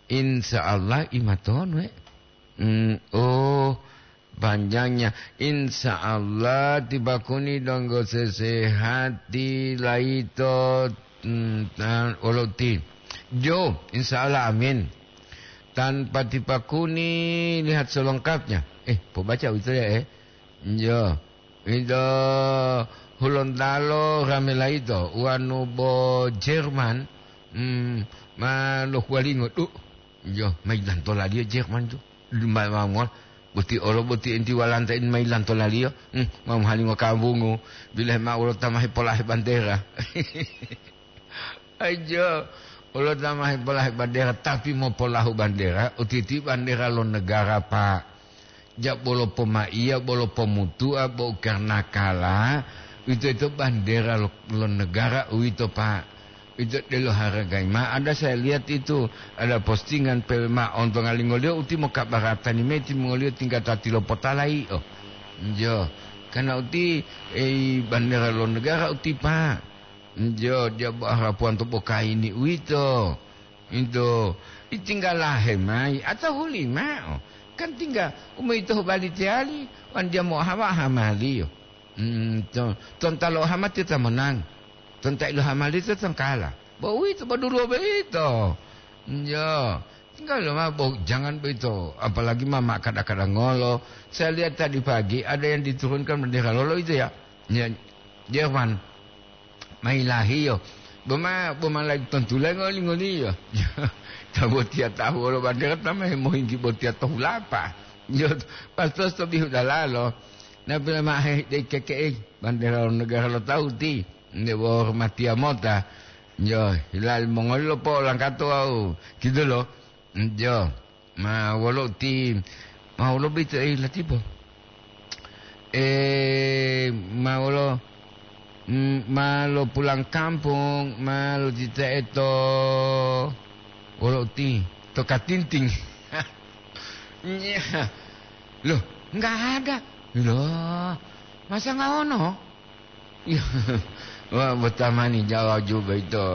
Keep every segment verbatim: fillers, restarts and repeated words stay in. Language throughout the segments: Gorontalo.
Insya Allah imatonu, eh. Hmm, oh, panjangnya. Insya Allah tipakuni donggo sesehati laito, hmm, tan-, olo ti. Jo, insya Allah, amin. Tanpa tipakuni lihat selengkapnya. Eh, pobaca itu ya, eh. Jo. Ito Hulontalo rame laito, wanu bo Jerman, mm, ma lohuwalingo, du, jo, ma yilantolaliyo Jerman tu. Ma, ma, ma, boti olo, boti enti walanta in ma yilantolaliyo, mm, ma mohalingo kambungu, bilahe ma wolo ta ma hepolahe bandera. Ajo, wolo ta ma hepolahe bandera, tapi mopolahu bandera, utiti bandera lo negara, Pak. Ja bolo pomaiya, bolo pomutua, bo karna kala, uwito-yito bandera lo, lo negara uwito, Pak. Uwito delo haragai. Ma ada saya lihat itu, ada postingan pe ma ontongalingoliyo uti mokabaratani mayi timongoliyo tingga ta tilopotalayi, oh. Jo, karna uti, ei, bandera lo negara uti, Pak. Jo, dia bo harapuwan to bokaini uwito. Ito, itinggalahe mayi atau hulimao. Kan tingga umoyito hubali teyali, wan dia mo'ohawa hamaliyo. Hmm, to, tonta lo hama tiyo ta monang. Tonta ilo hamaliyo tiyo ta kala. Bo uwito, bo duluwo boyito. Jo, tinggal lo ma, bo, jangan boyito. Apalagi ma, ma kada-kada ngolo. Saya lihat tadi pagi ada yang diturunkan bendera lolo itu ya. Ya, Jerman. Mailahiyo. Boma, boma lagi tontulengo lingoliyo. Ta botiya tahu wolo bandera ta ma hemohinggi botiya to hulapa. Yo, pastos to bihu dalalo. Na pila ma he dei keke'e bandera lo negara lo tahu ti. Nde bo hormatiya mota. Yo, hilal mongoli lo po langkato wau. Gitu lo. Jo, ma wolo ti, ma wolo bito, eh, latipo. Eh, ma wolo, mm, ma lo pulang kampung, ma lo titae to, wolo ti, to Katinting. Nya. Loh, nggak ada. Loh, masa nggak ono? Iya. Wah, botamani Jawa juga itu.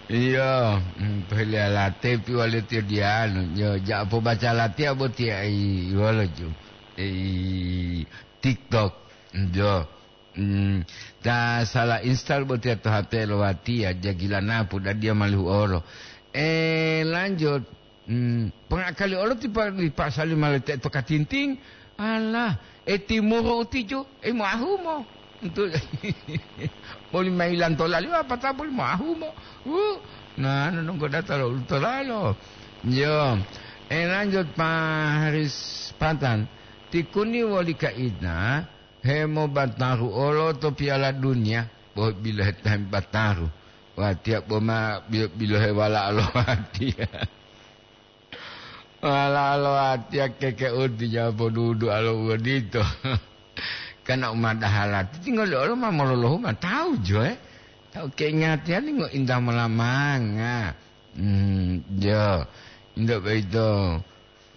Iya, mm, pele late pi wale tiyo dianu. Yo, ja pobaca latiya botiya, i, wala ju. I, TikTok. Yo. Mm, ta salah install botiya to H P lo watiya, jagila napu dadiya malihu oro. Eh, lanjut. Hmm, pongakali olo ti pa-, li pasali ma lete'e to Katinting. Alah, e timuru utijo, e moahumo. Entu, boli mailanto laliyo apata boli moahumo. Wu, na, nononggo data lo ulutolalo. Yo, e lanjut pa Haris Patan. Tikuni woli kaina, hemobataru olo to Piala Dunia, bo bilohe tahem bataru. Watiya boma bi-, bilohe wala lo watiya. Wala lo watiya keke uti ja podudu alo uwodito. Kana umadahala, tinggal olo ma mololohu ma tahu jo, eh. Tahu keingatiyani ngo indah molamanga. Hmm, jo. Indo boyito.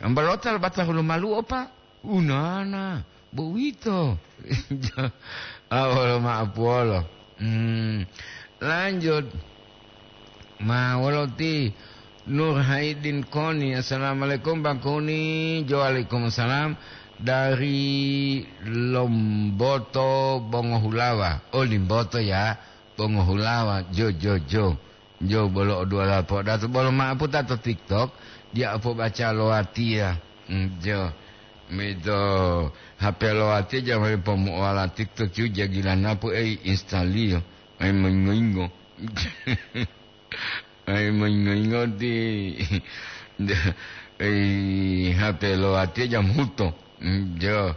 Ambalota lo batahu lo maluo, Pak. Unana, bo uwito. Ah, wolo ma'apuwolo. Hmm, lanjut. Ma wolo ti Nur Haidin Koni. Assalamualaikum, Bang Koni. Jo, waalaikumsalam. Dari Lomboto, Bongohulawa. Oh, Limboto ya. Bongohulawa. Jo, jo, jo. Jo bolo o duwala po'odato bolo ma'aputa to TikTok, dia o pobaca lo watiya. Mm, jo. Mito H P lo watiya jamari pomu'owala TikTok yu jagila napu ei instaliyo. Ai moyingo-yingo. Ai moyingo-yingo ti ei H P lo watiya jam huto. Mm, jo.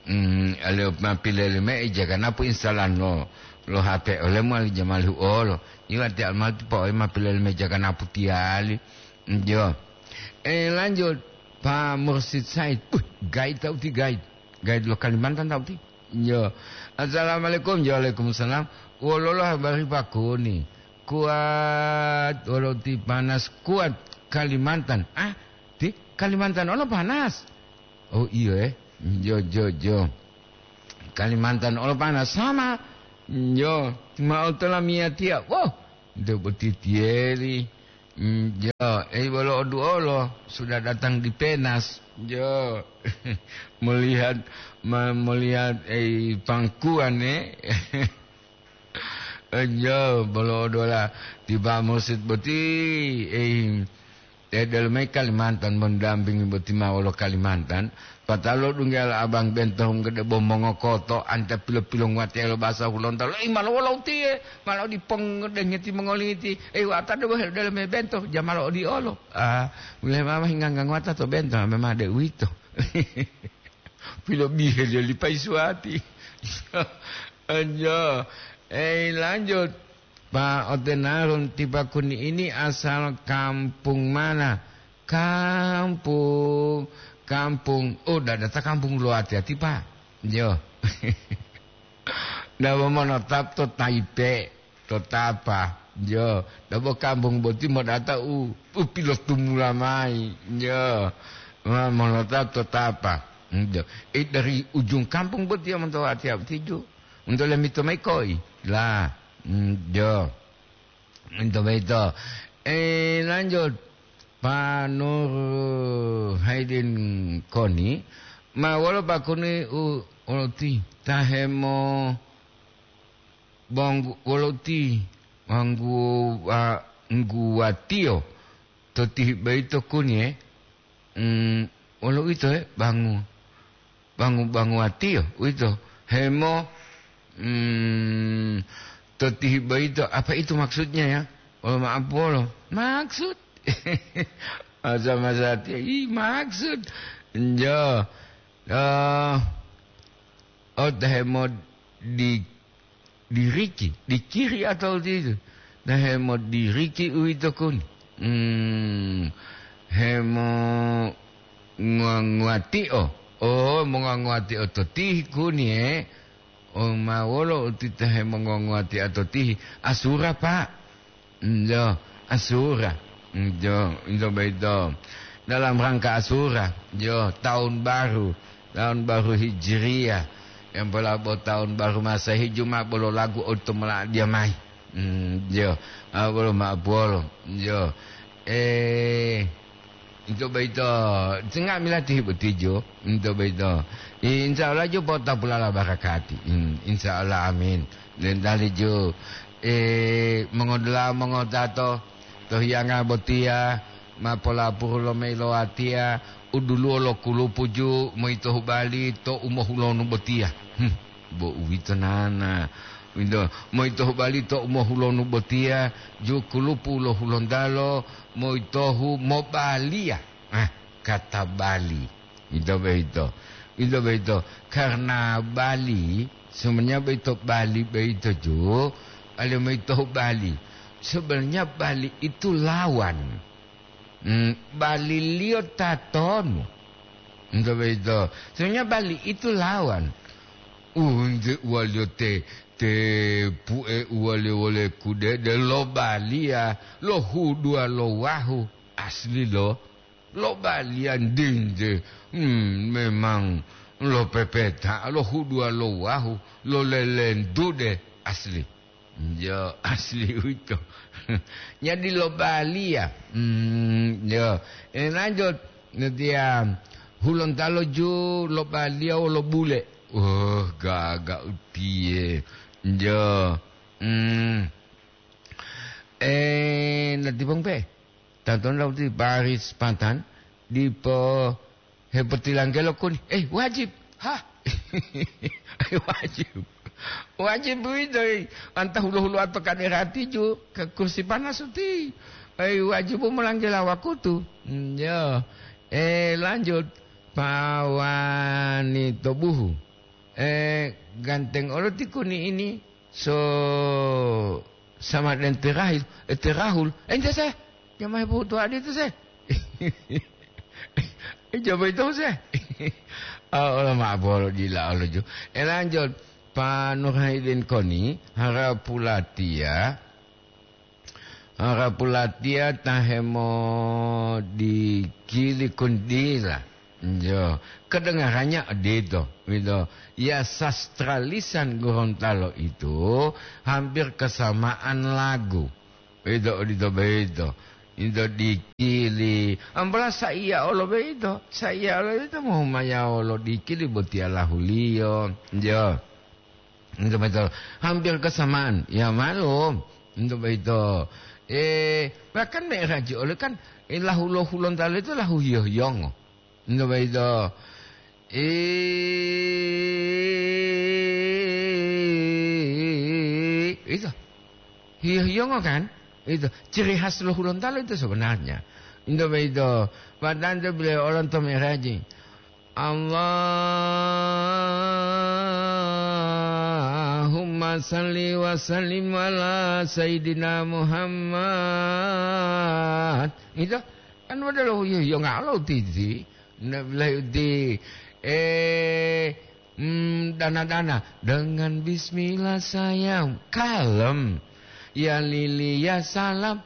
Hmm, ale ma pilele me ija ganapu instalan lo, lo H P olemu ali jamali huolo. Iwati almati pa oe ma pilele me ija ganapu tiyali. Hmm, jo. Eh, lanjut, Pak Mursid Said. Uh, guide tau ti guide. Guide lo Kalimantan tau ti. Jo. Assalamualaikum. Jo, waalaikumsalam. Wololo habari Pak Kuni? Kuat, wolo ti panas kuat Kalimantan. Ah, ti Kalimantan ono panas. Oh, iyo, eh. Jo, jo, jo. Kalimantan olo panas sama. Jo, ma otolamiyatiya. Woh, nto boti tiyeli. Mm, jo, Eh, bolo oduolo, sudah datang di Penas. Jo. Melihat, me-, melihat, eh, pangkuan, eh. Eh, jo, bolo odola tiba mursid boti, eh, eh, dalam Kalimantan mendampingi boti ma wolo Kalimantan. Patalo dunggal abang bento gede bo mongokoto anta pilo-pilo nguwatelo basa Hulontalo. Eh, malo wolo utiye, malo dipong dengeti mongoliti. Eh, wata debo hel dalam bento, jamalo odiolo. Ah, mulai mama hingga ngangwata to bento, memang ada uwito. Pilobihe liyo li Paisuwati. Anjo. Eh, lanjut. Pa otenarun tipa kuni ini asal kampung mana? Kampung, kampung. Oh, dadata kampung lo ati-ati, Pak. Jo. Nda monotap to Taipe. To tapa, jo, dabo kampung boti modata u, u pilotumula mayi, jo, ma, monota to tapa, jo. Eh, dari ujung kampung boti ya monto ati-ati ju, monto lemito mayi koi, la, mm, jo, monto mayi to. Eh, lanjut, Pak Nur Haidin Koni, ma wolo Pak Koni u, uti tahemo Banggu-, wolo uti banggu-, wa-, ngguwatiyo to tihi boyito kuniye, mm, wolo uwito, he, bangu-, bangu-, banguwatiyo uwito, hemo, mm, to tihi boyito, apa itu maksudnya, ya? Wolo ma'apu wolo. Maksud. Masa-masa tiyo, ih, maksud. Njo. Eh, oh, ta hemodi-, diriki, dikiri atau ditu. Ta hemodiriki uwito kuni. Hmm, hemo-, nguwa-, nguwatio. Oh, mongonguwatio to tihi kuni, eh. Oh, ma wolo uti ta hemongonguwatio to tihi? Asura, Pak. Njo, Asura. Njo, njo boyito. Dalam rangka Asura, jo, tahun baru. Tahun baru Hijriyah. Yang pola bo tahun baru Masehi, juma bolo lagu oto moladia mayi. Hmm, jo. Ah, bolo ma'apu wolo. Jo. Eh, Ito boyito, ti nga'amila tihi boti jo, ito boyito. Insya Allah jo potapulala barakati. Hmm, insya Allah, amin. Dentali jo, eh, mongodula'a mongotato, to hiyanga botiya, ma polapuru lo mayi lo watiya, u duluwo lo kulupu ju, moyito hubali to u mohulonu botiya. Hmm. Bo uwito nana. Uwito, moyitohu bali to u mohulonu botiya, ju kulupu lo Hulontalo, moyitohu mobaliya. Ah, kata bali. Ito boyito. Ito boyito. Karena bali, sebenarnya boyito bali boyito ju, ale moyitohu bali. Sebenarnya bali itu lawan. Hmm, baliliyo tatonu? Nto boyito. Sebenarnya bali itu lawan. Unte uwaliyo te, te pue uwaliyo wole kudede lo baliya, lo huduwa lo wahu. Asli lo, lo baliya ndinje. Hmm, memang lo pepeta, lo huduwa lo wahu, lo lelentude. Asli. Yo, asli uwito. Nyadi lobaliya. Hmm, yo. Eh, lanjut. Netiya Hulontalo ju lobaliya wolo bule. Oh, gaga utiye. Yo. Hmm. Eh, nati bang pe. Tantola uti baris patan dipo hepotilanggelo kuni. Eh, wajib. Hah? Wajib. Wajib uwito, eh. Anta hulo-huloa to kaderati ju ke kursi panas uti. Eh, wajib u molanggela wakutu. Hmm, yo. Eh, lanjut. Pawani to buhu. Eh, ganteng olo ti kuni ini. So, sama den terahil, eh, terahul. Ente se, jamaah butuh adi itu se. Eh, coba itu se. Ah, ola ma bolo dila olo ju. Eh, lanjut. Pa Nurhaidin Koni, harapulatiya. Harapulatiya ta hemodikili kundila. Jo, kedengarannya odito, gitu. Ya, sastra lisan Gorontalo itu hampir kesamaan lagu. Itu, odito boyito. Ito dikili. Ambola saiya olo boyito. Saiya olo boyito mohumayawo lo dikili botiya lahuliyo. Yo. Ito boyito hampir kesamaan. Ya, malum. Ito boyito. Eh, bahkan Mi'raji olo kan, eh, lahu lo Hulontalo ito lahu hiyo-hiyongo. Ito boyito. Eh, ito. Hiyo-hiyongo kan? Ito. Ciri khas lo Hulontalo ito sebenarnya. Ito boyito. Padahal ito beliau orang to Mi'raji. Allahumma salli wa sallim ala Sayyidina Muhammad. Ito. Kan wada lo hiyo-hiyongo lo titi. Nabilahi uti, eh, mm, dana-dana. Dengan bismillah sayang. Kalem. Ya lili ya salam.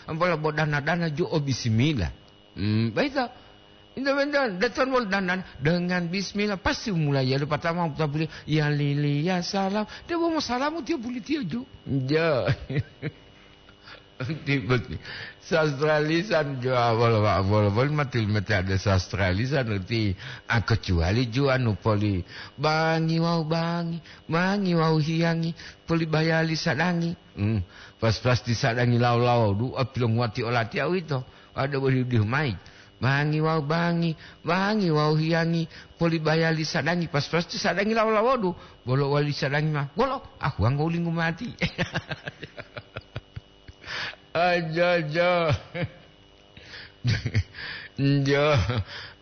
Ampola bo dana-dana jo o bismillah. Hmm, baita. Inda benda, datang wal dana-dana. Dengan bismillah. Pasti mulai ya. Pertama, kita boleh. Ya lili ya salam. Dia mau salam, dia boleh dia jo. Ja. Ti boti. Sastra lisan jo awal wa awal pun mati mati ada sastra lisan uti, ah, kecuali jo anu poli bangi wau bangi, bangi wau hiyangi, poli bayali sadangi. Hmm. Pas-pas ti sadangi lawo-lawo du, ah, pilonguwati olati awito. Ada bodi di mai. Bangi wau bangi, bangi wau hiyangi, poli bayali sadangi. Pas-pas ti sadangi lawo-lawo du, bolo wali sadangi ma. Bolo, aku wanggo lingu mati. Aja, aja. Njo,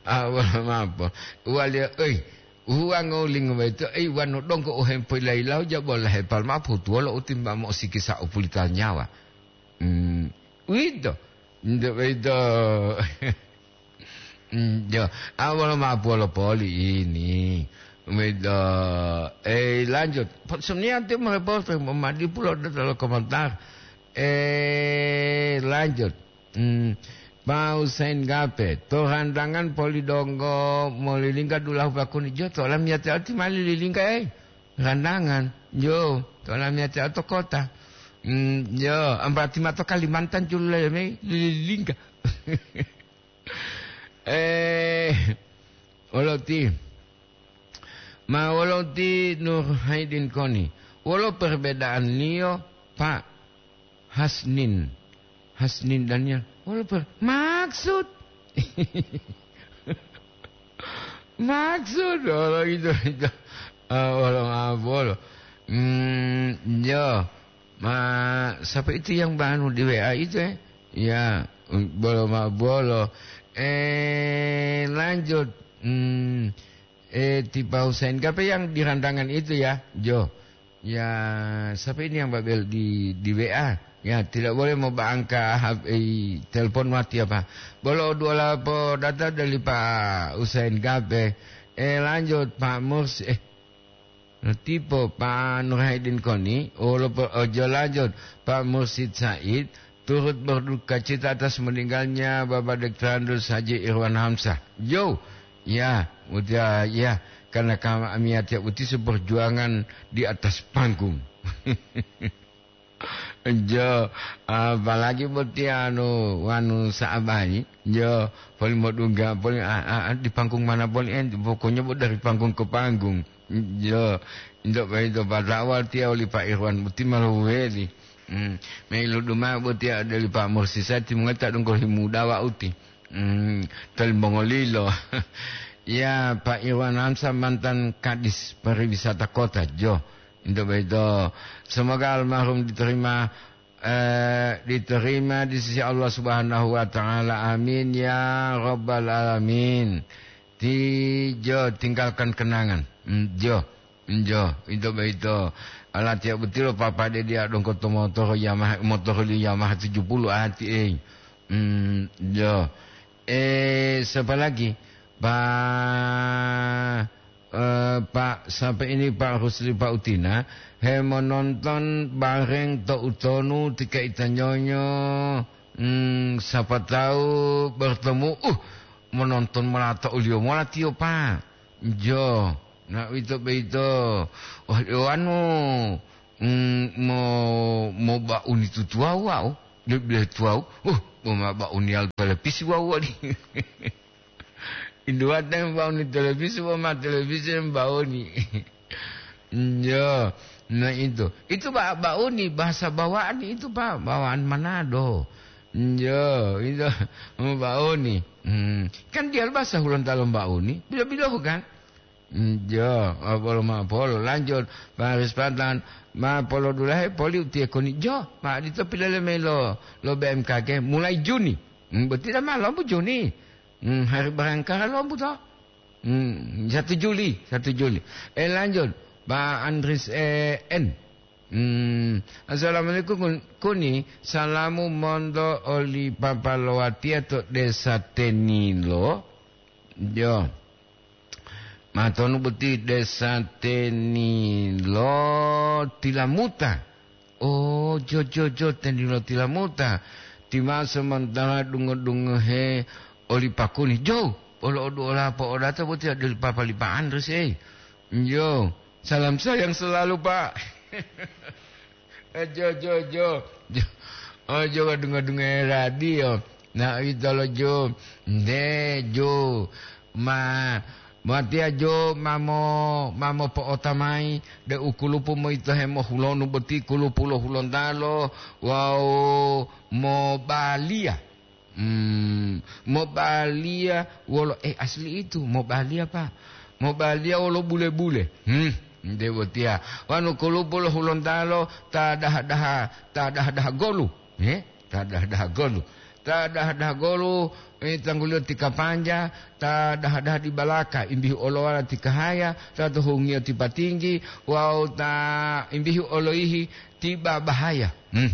awal mapo. Wali, oi, uwango lingu baito, ei, wanu dongko o hempo ilailau, jabo la hepal mapo, tuwolo utimba mo sikisa o pulita nyawa. Hmm, uwito. Njo baito. Hmm, jo, awal mapo lo poli ini. Uwito. Eh, lanjut. Sebenarnya nanti merepot, madi pulo datang komentar. Eh, lanjut. Hmm, Pak Husain Gape, to randangan poli donggo molilingga dulahu pakuni jo, to lamiyati ati mali lilingga, eh. Randangan, jo, to lamiyati to kota. Hmm, jo, ambrati mato Kalimantan julule me lilingga. Eh, oloti. Ma wolo ti Nur Haidin koni? Wolo perbedaanliyo, Pak Hasnin? Hasnin Daniel. Wolo per-, maksud? Maksud, wolo itu, itu. Ah, wolo, ah, wolo. Hmm, yo. Ma, siapa itu yang banu di W A itu, eh? Ya, bolo ma bolo. Eh, lanjut. Hmm, eh, ti Pak Husain. Siapa yang di randangan itu, ya? Jo. Ya, siapa ini yang babel di, di W A? Ya, tidak boleh mau angka H P, telepon mati apa. Bolo dua lapo data dari Pak Husain Gape. Eh, lanjut, Pak Murs. Eh, Tipe Pak Nur Haidin koni, wolo po-, ojo lanjut, Pak Mursid Said, turut berduka cita atas meninggalnya Bapak Doktor Andrus Haji Irwan Hamzah. Yo, ya, udah, ya, karena kami tiap uti seperjuangan di atas panggung. Jo, apalagi boti anu, wanu sa'abayi, jo, poli modungga, poli, a, a, a, di panggung mana poli, eh, pokoknya bo dari panggung ke panggung. Jo, ndak bayi to pada awal tia oli Pak Irwan boti malu weli. Hmm, mei ludu ma'o boti ade oli Pak Mursisa, timongoli ta donggo himudawa uti. Hmm, toli mongolilo. Ya, Pak Irwan Hamzah, mantan Kadis Pariwisata Kota, jo. Untuk begitu, semoga almarhum diterima, eh, diterima di sisi Allah Subhanahu wa Ta'ala. Amin ya Rabbal Alamin. Ti jo tinggalkan kenangan. Mm, jo, jo, itu begitu. Ala tiap betul papa dia, dia dongko to motor Yamaha, motor li Yamaha tujuh puluh ati, eh. Mm, jo. Eh, siapa lagi? Pak, eh, Pak, sampai ini Pak Rusli, Pak Utina, he menonton bareng to utonu tika itanyonyo, hmm, siapa tahu bertemu, uh, menonton mola to uliyo mola tiyo, Pak. Jo, na uwito boyito. Wah, anu, mm, mo, mo ba'uni tutuwawu wau, de-, de tuwawu. Uh, Bo ma ba'uniyal televisi wawu woli. Induwate ba'uni televisi, bo ma televisi ba'uni. Iyo, nah itu. Itu ba-, ba'uni, bahasa bawaan itu, Pak, bawaan Manado. Iyo, itu ba'uni. Hmm, kan dia bahasa Hulontalo ba'uni. Bilo-bilo kan? Njo, apolo ma'apolo. Lanjut, Pak Haris Patan, ma polodulahe poli utiye koni. Jo, ma adito pilele mayi lo, lo B M K G, mulai Juni. Hmm, berarti dah ma lombu Juni. Hmm, hari Bayangkara lombu to. Hmm, satu Juli, satu Juli. Eh, lanjut, Pak Andris, eh, N. Hmm, assalamualaikum, Kun-, Kuni. Salamu monto oli papa lo watiya to desa Tenilo. Jo. Matonu boti desa Tenilo Tilamuta. Oh, jo, jo, jo, Tenilo Tilamuta. Ti ma sementara dungo-dungohe oli Pak Kuni. Jo, olo odu ola po odata boti ade oli papa li Pak Andris, eh. Jo, salam sayang selalu, Pak. Eh, jo, jo, jo. Jo. Oh, jo, dungo-dungo radio. Nah, ito lo jo. Nde, jo. Ma, matiya jo mamo, mamo po'ota mayi, de u kulupu moyito hemohulonu boti kulupu lo Hulontalo wawu mobaliya. Hmm, mobaliya wolo, eh, asli itu, mobaliya, Pak. Mobaliya wolo bule-bule. Hmm, nde botiya. Wanu kulupu lo Hulontalo ta daha-daha, ta daha-daha golu. Eh, ta daha-daha golu. Ta daha-daha golu, eh, tangguliyo ti Kapanja, ta daha-daha di Balaka, imbihu olowala ti Kahaya, ta to hungiyo ti Patinggi, wawu ta imbihu oloyihi ti Babahaya. Hmm.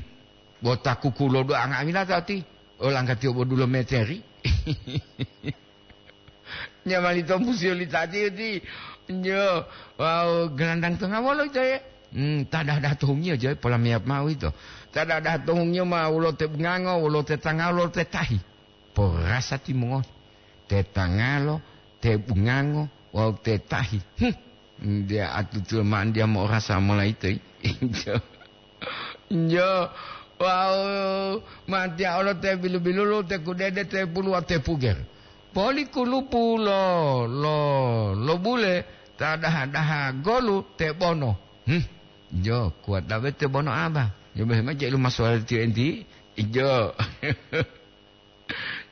Bo ta kukulo do anga'amila ta ti, olanggatiyo bo dulo meteri. Nyamali tompusiyo li tati uti. Nyo, wawu gelandang tonga wolo ito ye? Hmm, ta daha-daha to hungiyo joy, pola meyap ma'o ito. Ta daha-daha to hungiyo ma wolo te bungango, wolo te tangalo, wolo te tahi. Porasa timongoli. Te tangalo, te bungango, wawu te tahi. Hmm. Nde atutuwa ma'o nde mo'orasa mola ito yi. Njo. Njo. Wawu, matiya olo te bilu-bilulu, te kudede, te pulu wawu te puger. Poli kulupu lo, lo, lo bule, ta daha-daha golu te bono. Hmm. Njo, kuwata be te bono aba. Njo, be ma jelu maswara tiyo enti. Njo.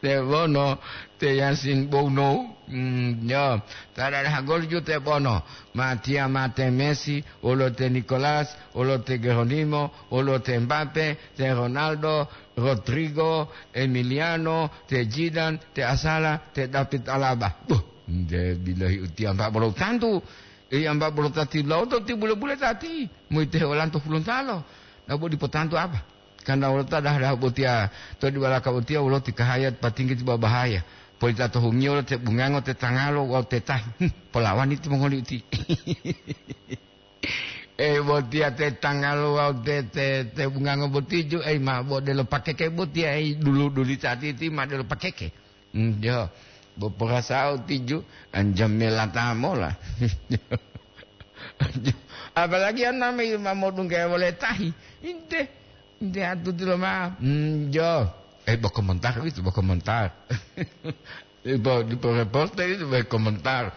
Te bono, te Yasin Bono. Hmm, njo. Ta daha golu ju te bono. Matiya ma te Messi, wolo te Nicolas, wolo te Geronimo, wolo te Mbappe, te Ronaldo, Rodrigo, Emiliano, te Zidane, te Asala, te David Alaba. Buh, nde bilohi utiya mpa bolo tantu. Iya mpa bolo tati lawoto ti bule-bule tati. Moyito heolanto Hulontalo. Nabo dipo tantu apa? Karena wolo ta daha-daha botiya, to di balaka botiya wolo ti Kahaya, Patinggi ti Babahaya. Polita to hungiyo wolo te bungango, te tangalo, wawu te tahi. Hmm, polawani timongoli uti. Eh, botiya te tangalo wawu te, te, te bungango boti ju, eh, ma bo delo pakeke botiya, eh, dulu-duli tati ti ma delo pakeke. Hmm, jo, bo porasa'o tiju, anjamela ta mola. Apalagi aname ma modungga wole tahi. Inte, inte atuti loma. Hmm, jo. Eh, bo komentar itu, bo komentar. Ibo, dipo reporter itu bo komentar.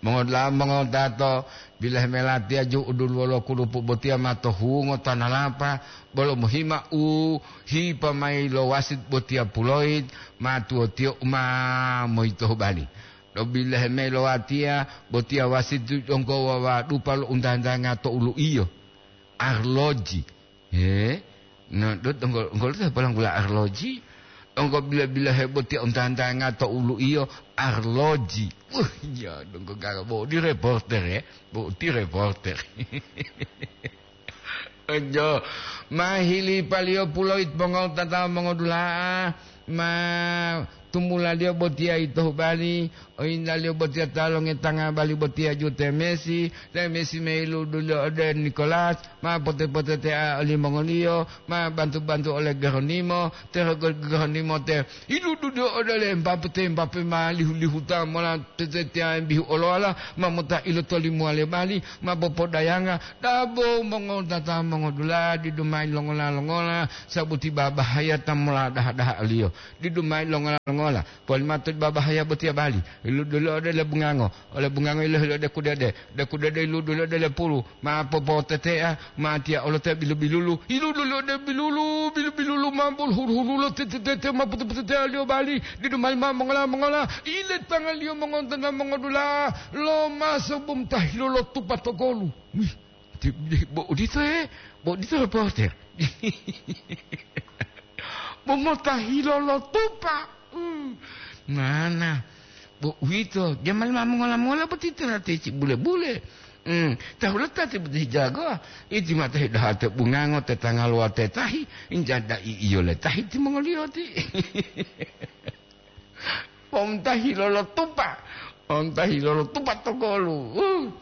Mongoda'a mongodato, bilahe melatiya ju uduluwo lo kulupu botiya ma to hungo tanalapa, bolo mohima u hipa mayi lo wasit botiya puloit, ma tuwotiyo u ma moyito hubali. Lo bilahe mayi lo watiya, botiya wasit donggo wawadupa lo untantanga to ulu'iyo. Arloji. He? No, dot, donggo, donggo lo ta polanggula arloji. Donggo bila-bila he botiya untantanga to ulu'iyo arloji. Wah, ya, donggo gaga bo di reporter, ya. Bo di reporter. Ojo, ma hili paliyo puloit mongotata mongodula'a, ma tumulaliyo botiya ito hubali, oyintaliyo botiya ta longetanga bali botiya ju te Messi, te Messi meiluduliyo ode Nicolas, ma pote-potetea olimongoliyo, ma bantu-bantu ole Geronimo, te Geronimo te iluduliyo ode le Mbappe, te Mbappe ma lihu-lihuta mola tetetea mbihu olowala, ma mota ilotolimuwale bali, ma popodayanga, dabo mongotata mongodula'a didu mayi longola-longola, sabuti babahaya ta mola daha-daha oliyo. Didu mayi longola-longola, polimatu babahaya botiya bali, iluduli ode le bungango, ole bungango ilohili ode kudede, de kudede iluduli ode le pulu, ma popotetea, ma tiya olo te bilu-bilulu, iluduli ode bilulu, bilu-bilulu ma bul huru-hurulo tete-tete ma pute-putetealiyo bali, didu mayi ma mongola-mongola, ile tangaliyo mongontana mongodula, lo maso bum tahilo lo tupa to golu. Wih, ti-, bo odito e, bo odito reporter. Bo motahilo lo tupa. Hmm. Mana? Bo uwito, jamal ma mongola-mongola boti tuna teci bule-bule. Hmm. Tahulata ti boti jagoa. Iti mata hidaha te bungango te tangalowa te tahi, injada i iyo le tahi timongoliyo ti. Pomtahi lolotupa, pomtahi lolotupa to golu. Uh,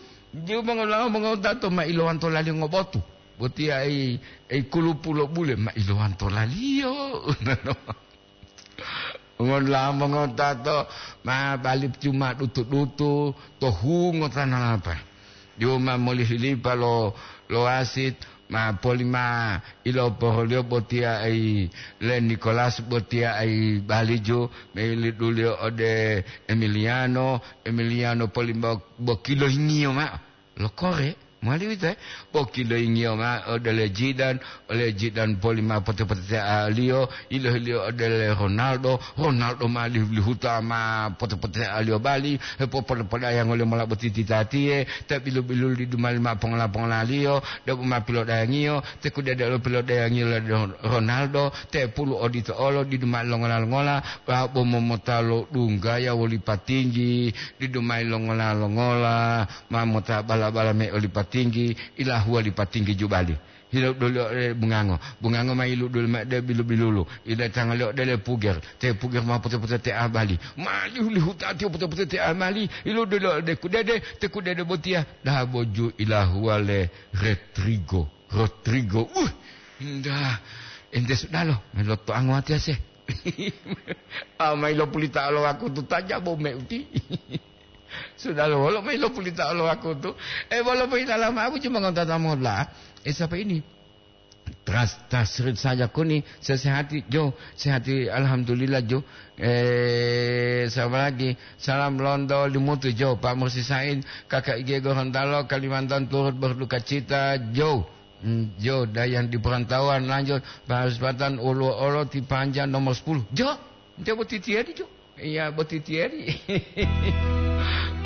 jiu mongolango mongotato ma ilowanto lali ngobotu. Botiya ei, ei kulupu lo bule ma ilowanto laliyo. Ngonla mongotato ma bali cuma dutu-dutu to hungo tanalapa. Diu ma molihilipa lo, lo wasit, ma polima iloporoliyo botiya ai le Nicolas botiya ai baliju, me liduliyo ode Emiliano, Emiliano polima bokilohingiyo ma'o. Lo kore, mowali uwito, eh? Bokilohingiyo ma'o ode le Zidane, ole Zidane polima pote-potetealiyo, ilohiliyo ode le Ronaldo, Ronaldo ma lihu-lihuta ma pote-potealiyo bali, hepopole-poleyango liyo mola boti titatiye, ta bilu-bilulu didu mali ma pongola-pongolaliyo, debo ma pilodayangiyo, te kudede olo pilodayangiyo le Ronaldo, te pulu odito olo didu mali longola-longola, bo momota lo dunggaya woli patinggi, didu mali longola-longola, ma mota bala-bala me oli patinggi, ilahuwa li patinggi jubali. Hilodoliyo ode bungango. Bungango ma iluduli mao ode bilu-bilulu. Idatangaliyo ode le puger. Te puger ma pote-pote te abali. Ma lihu-lihuta tiyo pote-pote te abali. Iludoliyo ode kudede, te kudede botiya. Daboju ilahuwa le Retrigo. Rodrigo. Uh, indah. Ente sudalo, meloto anguwatiya se. Ah, ma ilopulita lo wakutu taja bo meuti. Sudah lo, wolo mayi lo pulita lo wakutu. Eh, wolo mayi dalam abu cuma ngonta tamola. Eh, siapa ini? Tras, tasrit saja kuni, sesehati, Jo, sehati, alhamdulillah, Jo. Eh, siapa lagi? Salam Londo, Limutu, Jo, Pak Mursi Said, Kakak Ige Gorontalo, Kalimantan turut berduka cita, Jo. Hmm, Jo, dan yang di perantauan lanjut, Pak Harus Patan, Ulu Olo, Tipanja, nomor sepuluh. Jo, dia buat titian, Jo. Iya, boti tiyeri.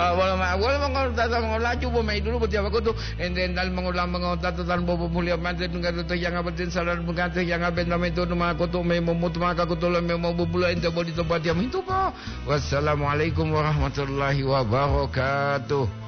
Ah, wolo ma-, wolo mongotata mongolaju bo mayi dulu boti awakutu. Ente entali mongola mongotata tan bobo mulia mate dungga to yanga batin salan bungate yanga benta mayi tonu ma kutu mayi momutu maka kutu lo mayi mobubulo ente bodi to batia mintu po. Wassalamualaikum warahmatullahi wabarakatuh.